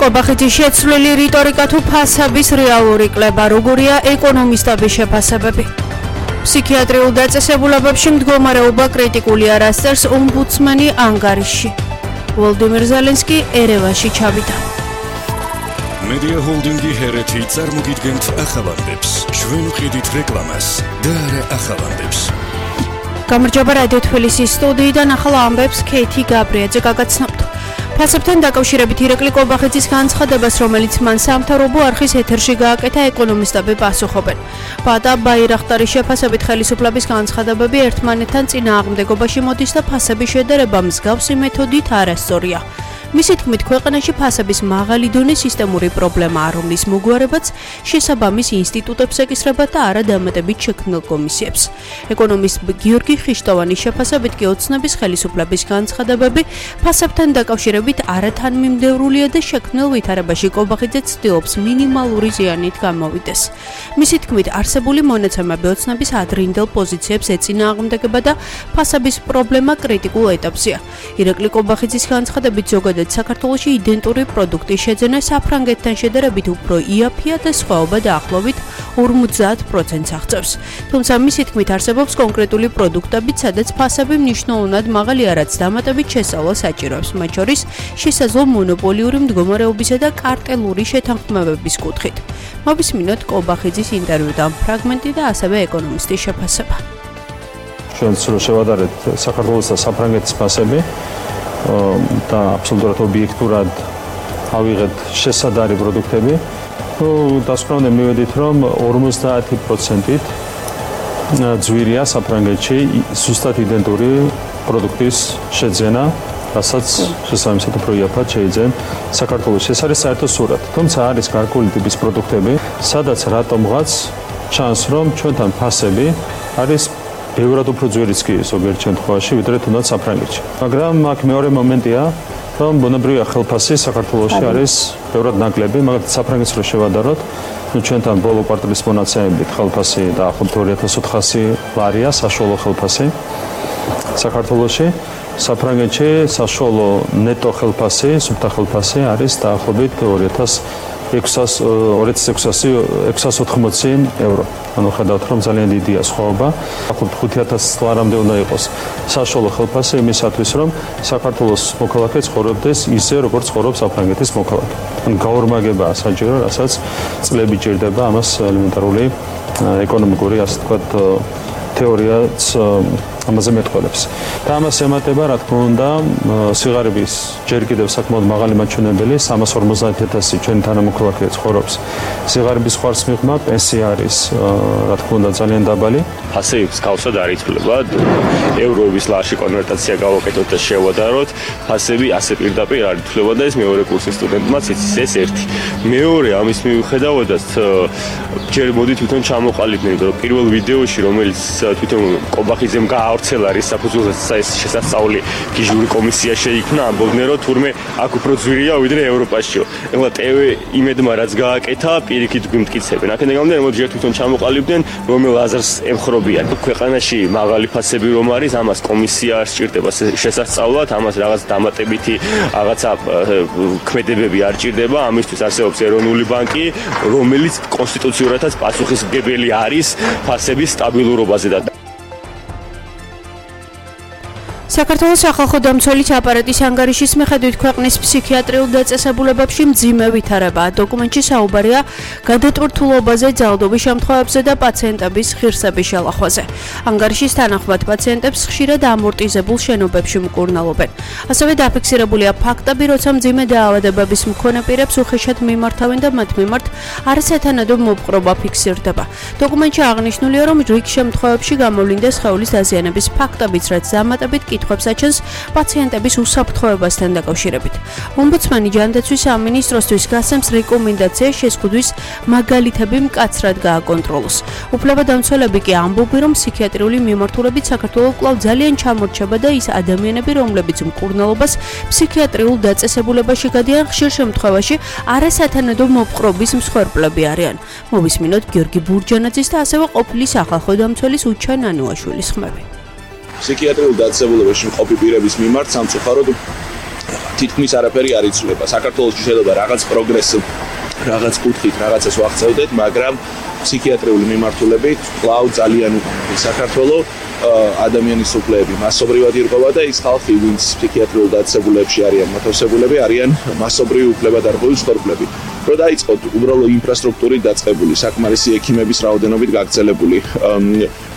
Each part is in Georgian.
კობახეთის შეცვლილი რიტორიკა თუ ფასების რეალური კლება, როგორია ეკონომისტების შეფასებები. ფსიქიატრიულ დაწესებულებებში მდგომარეობა კრიტიკულია, რაც წერს ომბუდსმენი ანგარიშში. ვოლდიმირ ზელენსკი ერევანში ჩავიდა. მედია ჰოლდინგი ჰერეთი წარმოგიდგენთ ახალანდებს. ჩვენ ვყიდით რეკლამას და არა ახალანდებს. გამარჯობა რადიო თბილისის სტუდიიდან ახალ ამბებს ქეითი გაბრიაძე გაგაცნობთ. ფასებთან დაკავშირებით ირაკლი კობახეთის განცხადებას, რომელიც მან სამთავრობო არხის ეთერში გააკეთა, ეკონომისტები პასუხობენ. ბადა ბაირახტარის შეფასებით ხელისუფლების განცხადებები ერთმანეთთან წინააღმდეგობაში მოდის და ფასების შედარება მსგავსი მეთოდით არასწორია. მისი თქმით, ქვეყანაში ფასების მაღალი დონე სისტემური პრობლემაა, რომლის მოგვარებაც შესაბამის ინსტიტუტებს ეკისრება და არა დამატებით შექმნილ კომისიებს. ეკონომისტ გიორგი ხიშტოვანის შეფასებით კი ოცნების ხელისუფლების განცხადებები ფასებთან დაკავშირებით არათანმიმდევრულია და შექმნილ ვითარებაში კობახიძე ცდილობს მინიმალური ზიანით გამოვიდეს. მისი თქმით, არსებული მონაცემები ოცნების ადრინდელ პოზიციებს ეწინააღმდეგება და ფასების პრობლემა კრიტიკულ ეტაპზეა. ირაკლი კობახიძის განცხადებით ზოგადად საქართველოში იდენტური პროდუქტის შეძენა საფრანგეთთან შედარებით უფრო იაფია და სხვაობა დაახლოებით 50%-ს აღწევს. თუმცა მისი თქმით არსებობს კონკრეტული პროდუქტებიც, სადაც ფასები მნიშვნელოვნად მაღალია, რაც დამატებით შესწავლა საჭიროებს, მათ შორის შესაძლო მონოპოლიური მდგომარეობისა და კარტელური შეთანხმებების კუთხით. მოვისმინოთ კობახიძის ინტერვიუდან ფრაგმენტი და ასევე ეკონომისტის შეფასება. ჩვენც რო შევადარეთ საქართველოს და საფრანგეთის ფასები და აბსოლუტურად ობიექტურად ავიღეთ შესადარი პროდუქტები, დასკვნამდე მივედით, რომ 50%-ით ძვირია საფრანგეთში ზუსტად იდენტური პროდუქტის შეძენა, რასაც შესაბამისად უფრო იაფად შეიძლება საქართველოში. ეს არის საერთო სურათი. თუმცა არის გარკვეული ტიპის პროდუქტები, სადაც რატომღაც ჩანს, რომ ჩვენთან ფასები არის ბევრად უფრო ძვირიც კი ზოგიერთ შემთხვევაში, ვიდრე თუნდაც საფრანგეთში. მაგრამ აქ მეორე მომენტია, რომ ბუნებრივია ხელფასი საქართველოში არის ბევრად ნაკლები, მაგალითად საფრანგეთს რო შევადაროთ, ჩვენთან ბოლო კვარტალის მონაცემებით ხელფასი დაახლოებით 2400 ლარია საშუალო ხელფასი საქართველოში. საფრანგეთში საშუალო ნეტო ხელფასი, სუფთა ხელფასი არის დაახლოებით 2680 ევრო. ანუ ხედავთ, რომ ძალიან დიდია სხვაობა. დაახლოებით 5000 ლარამდე უნდა იყოს საშუალო ხელფასი იმისათვის, რომ საქართველოს მოქალაქე ცხოვრობდეს ისე, როგორც ცხოვრობს საფრანგეთის მოქალაქე. ანუ გაორმაგებაა საჭირო, რასაც წლები ჭირდება ამას ელემენტარული ეკონომიკური, ასე ვთქვათ, თეორიაც ამაზე მეტყველებს. და ამას ემატება, რა თქმა უნდა, სიღარიბის ჯერ კიდევ საკმაოდ მაღალი მაჩვენებელი, 350,000 ჩვენი თანამოქალაქე ცხოვრობს. სიღარიბის ხარს მიღმა, პენსია არის, რა თქმა უნდა, ძალიან დაბალი. ფასებს გავსად არ იცვლებად, ევროების ლარში კონვერტაცია გავაკეთოთ და შევადაროთ, ფასები ასე პირდაპირ არ იცვლება და ეს მეორე კურსის სტუდენტმაც იცის ეს ერთი. მეორე ამის მიუხედავადაც ჯერ მოდი თვითონ ჩამოყალიბდნენ, რომ პირველ ვიდეოში, რომელიც თვითონ კობახიძემ გაავრცელა რის საფუძველზე შესასწავლი გიჟური კომისია შეიქმნა, ამბობდნენ, რომ თურმე აქ უფრო ძვირია ვიდრე ევროპაშიო. ეხლა TV იმედმა რაც გააკეთა, პირიქით გვიმტკიცებენ. აქედან გამომდინარე, მოდი ჯერ თვითონ ჩამოყალიბდნენ, რომელ აზრს ემხრობიან. ქვეყანაში მაღალი ფასები რომ არის, ამას კომისია არ სჭირდება შესასწავლად, ამას რაღაც დამატებითი რაღაცა ქმედებები არ ჭირდება, ამისთვის არსებობს ეროვნული ბანკი, რომელიც კონსტიტუციურადაც პასუხისმგებელი არის ფასების სტაბილურობაზე და საქართველოს სახალხო დამცველის აპარატის ანგარიშის მიხედვით ქვეყნის ფსიქიატრიულ დაწესებულებებში მძიმე ვითარებაა. დოკუმენტში საუბარია გადატვირთულობაზე, ძალადობის შემთხვევებზე და პაციენტების ღირსების შელახვაზე. ანგარიშის თანახმად პაციენტებს ხშირად ამორტიზებულ შენობებში მკურნალობენ. ასევე დაფიქსირებულია ფაქტები, როცა მძიმე დაავადებების მქონე პირებს უხეშად მიმართავენ და მათ მიმართ არასათანადო მოპყრობა ფიქსირდება. დოკუმენტში აღნიშნულია, რომ რიგ შემთხვევებში გამოვლინდა სხეულის დაზიანების ფაქტებიც, რაც დამატებით კითხვებს აჩენს პაციენტების უსაფრთხოებასთან დაკავშირებით. ომბუდსმენი ჯანდაცვის სამინისტროსთვის გასცემს რეკომენდაციას შეზღუდვის მაგალითები მკაცრად გააკონტროლოს. უფლებადამცველები კი ამბობენ, რომ ფსიქიატრიული მიმართულებით საქართველოს კვლავ ძალიან ჩამორჩება და ის ადამიანები, რომლებიც მკურნალობას ფსიქიატრიულ დაწესებულებაში გადიან, ხშირ შემთხვევაში არასათანადო მოპყრობის მსხვერპლები არიან. მოვისმინოთ გიორგი ბურჯანაძის და ასევე ყოფილი სახალხო დამცველის უჩა ნანუაშვილის ხმები. ფსიქიატრიულ დაწესებულებაში მყოფი პირების მიმართ სამწუხაროდ თითქმის არაფერი არ იცვლება. საქართველოში შეიძლება რაღაც პროგრესი რაღაც კუთხით რაღაცას ვახცევდეთ, მაგრამ ფსიქიატრიული მიმართულებით კვლავ ძალიან უკეთია საქართველო ადამიანის უფლებები მასობრივად ირღვევა და ის ხალხი, ვინც ფსიქიატრიულ დაწესებულებებში არიან მოთავსებულები, არიან მასობრივი უფლებადარღვევის ხორბლები. რო დაიწყოთ უბრალო ინფრასტრუქტურით დაწყებული, საკმარისი ექიმების რაოდენობით გაგრძელებული,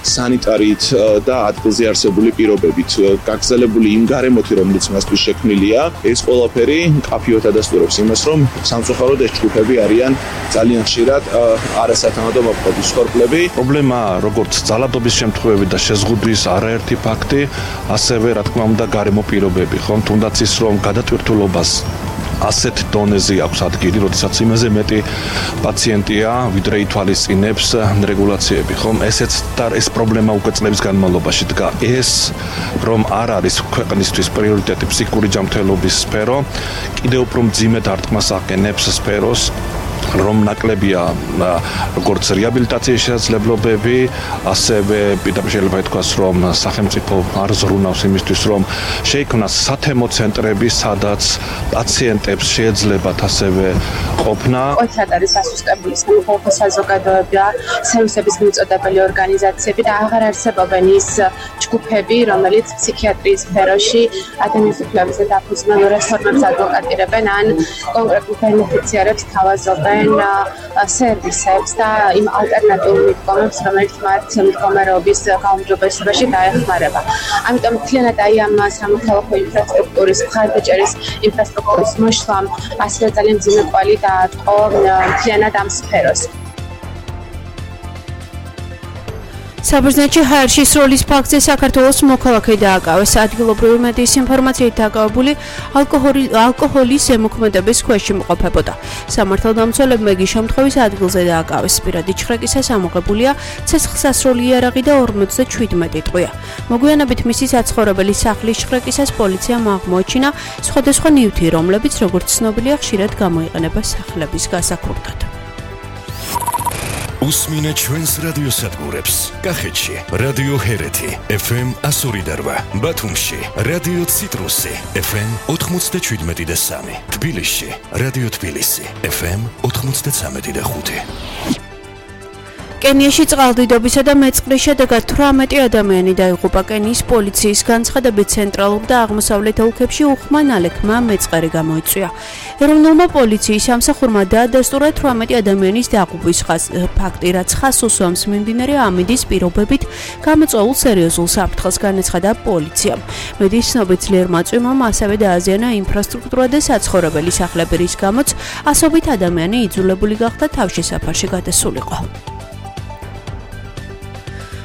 სანიტარით და ადგილზე არსებული პირობებით გაგრძელებული იმ გარემოთი, რომელიც მასთვის შექმნილია, ეს ყველაფერი მკაფიოდ ადასტურებს იმას, რომ სამწუხაროდ ეს ჯგუფები არიან ძალიან ხშირად არასათანადო მოქმედი ხორბლები. პრობლემაა როგორც ძალადობის შემთხვევები და შეზღუდვის არაერთი ფაქტი, ასევე რა თქმა უნდა გარემო პირობები, ხომ თუნდაც ის რომ გადატვირთულობას ასეთ დონეზე აქვს ადგილი, როდესაც იმაზე მეტი პაციენტია, ვიდრე ითვალისწინებს რეგულაციები, ხომ? ეს პრობლემა უკვე წლების განმავლობაში დგა. ეს რომ არ არის ქვეყნისთვის პრიორიტეტი ფსიქიკური ჯანმრთელობის სფერო, კიდევ უფრო მძიმედ არტყმას აყენებს სფეროს, რომ ნაკლებია როგორც რეაბილიტაციის შესაძლებლობები, ასევე პირდაპირ შეიძლება ითქვას, რომ სახელმწიფო არ ზრუნავს იმისთვის, რომ შეიქმნას სათემო ცენტრები, სადაც პაციენტებს შეეძლებათ ასევე ყოფნა. ოთხად არის ასუსტებული სამოქალაქო საზოგადოება, სერვისების მიმწოდებელი ორგანიზაციები და აღარ არსებობენ ის ჯგუფები, რომელიც ფსიქიატრიის სფეროში ადამიანის უფლებებზე დაფუძნებულ რეფორმებს ადვოკატირებენ ან კონკრეტულ ბენეფიციარებს თავაზობენ სერვისებს და იმ ალტერნატიულ მიდგომებს, რომელიც მათ მდგომარეობის გაუმჯობესებაში დაეხმარება. ამიტომ მთლიანად ამ სამოქალაქო ინფრასტრუქტურის, მხარდაჭერის ინფრასტრუქტურის მოშლამ ასევე ძალიან მძიმე კვალი დაატყო მთლიანად ამ სფეროს. საბერძნეთში ჰაერში სროლის ფაქტზე საქართველოს მოქალაქე დააკავეს. ადგილობრივი მედიის ინფორმაციით დაკავებული ალკოჰოლის ზემოქმედების ქვეშ იმყოფებოდა. სამართალდამცველებმა იგი შემთხვევის ადგილზე დააკავეს. პირადი ჩხრეკისას ამოღებულია ცეცხლსასროლი იარაღი და 57 ტყვია. მოგვიანებით მისი საცხოვრებელი სახლის ჩხრეკისას პოლიციამ აღმოაჩინა სხვადასხვა ნივთი, რომლებიც როგორც ცნობილია ხშირად გამოიყენება სახლების გასაქვეყნად. უსმინეთ ჩვენს რადიოსადგურებს. კახეთში რადიო ჰერეთი FM 102.8, ბათუმში რადიო ციტრუსი FM 97.3, თბილისში რადიო თბილისი FM 93.5. კენიაში წყალდიდობისა და მეწყრის შედეგად 18 ადამიანი დაიღუპა. კენიის პოლიციის განცხადებით ცენტრალურ და აღმოსავლეთ ოლქებში უხმა ნალექმა მეწყერი გამოიწვია. ეროვნულმა პოლიციის სამსახურმა დაადასტურა 18 ადამიანის დაღუპვის ფაქტი, რაც ხაზს უსვამს მიმდინარე ამინდის პირობებით გამოწვეულ სერიოზულ საფრთხეს, განაცხადა პოლიციამ. მედიის ცნობით ძლიერმა წვიმამ ასევე დააზიანა ინფრასტრუქტურა და საცხოვრებელი სახლები, რის გამოც ასობით ადამიანი იძულებული გახდა თავშესაფარში გადასულიყო.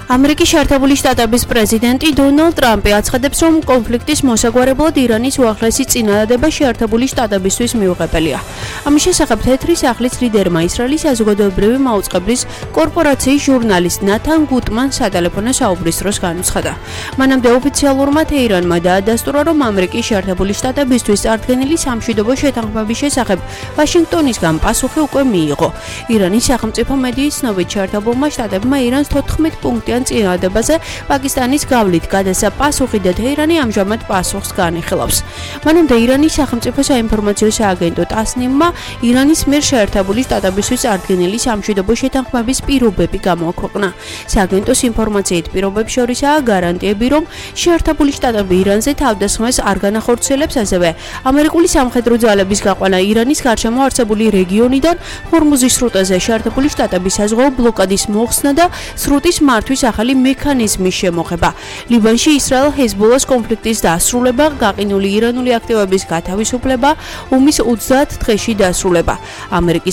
ამერიკის შეერთებული შტატების პრეზიდენტი დონალდ ტრამპი აცხადებს, რომ კონფლიქტის მოსაგვარებლად ირანის უახლესი წინადადება შეერთებული შტატებისთვის მიუღებელია. ამის შესახებ თეთრი სახლის ლიდერმა ისრაელის საზოგადოებრივი მაუწყებლის კორპორაციის ჟურნალისტ ნათან გუტმან სატელეფონო საუბრის დროს განუცხადა. მანამდე ოფიციალურმა თეირანმა დაადასტურა, რომ ამერიკის შეერთებული შტატებისთვის წარდგენილი სამშვიდობო შეთანხმების შესახებ ვაშინგტონისგან პასუხი უკვე მიიღო. ირანის სახელმწიფო მედიის ცნობით შეერთებულმა შტატებმა ირანს 14 პუნქტიან წინადადებაზე პაკისტანის გავლით გადასცა პასუხი და თეირანი ამჟამად პასუხს განიხილავს. მანამდე ირანის სახელმწიფო საინფორმაციო სააგენტო ტასნიმმა ირანის მიერ შეერთებული შტატებისთვის წარდგენილი სამშვიდობო შეთანხმების პირობები გამოაქვეყნა. სააგენტოს ინფორმაციით პირობებს შორისაა გარანტიები, რომ შეერთებული შტატები ირანზე თავდასხმას არ განახორციელებს, ასევე ამერიკული სამხედრო ძალების გაყვანა ირანის გარშემო არსებული რეგიონიდან ჰორმუზის სრუტეზე შეერთებული შტატების საზღვაო ბლოკადის მოხსნა და სრუტის მართვის ახალი მექანიზმის შემოღება. ლიბანში ისრაელ-ჰეზბოლას კონფლიქტის დასრულება, გაყინული ირანული აქტივების გათავისუფლება, ომის 30 დღეში დასრულება. ამერიკის